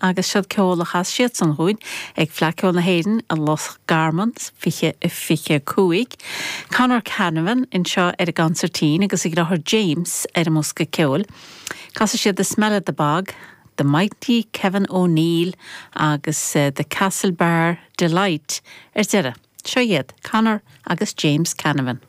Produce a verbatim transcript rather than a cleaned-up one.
agus siod ceol a chas siadsan dúinn ag Fleadh Cheoil na hÉireann i Loch Garman fiche a fiche cúig. Conor Canavan anseo ar an gconsairtín agus a dheartháir James ar an mbosca ceoil. Casfaidh siad The Smell of the Bog, The Mighty Kevin O'Neill agus uh, The Castlebar Delight ar deireadh. Seo iad Conor agus James Canavan.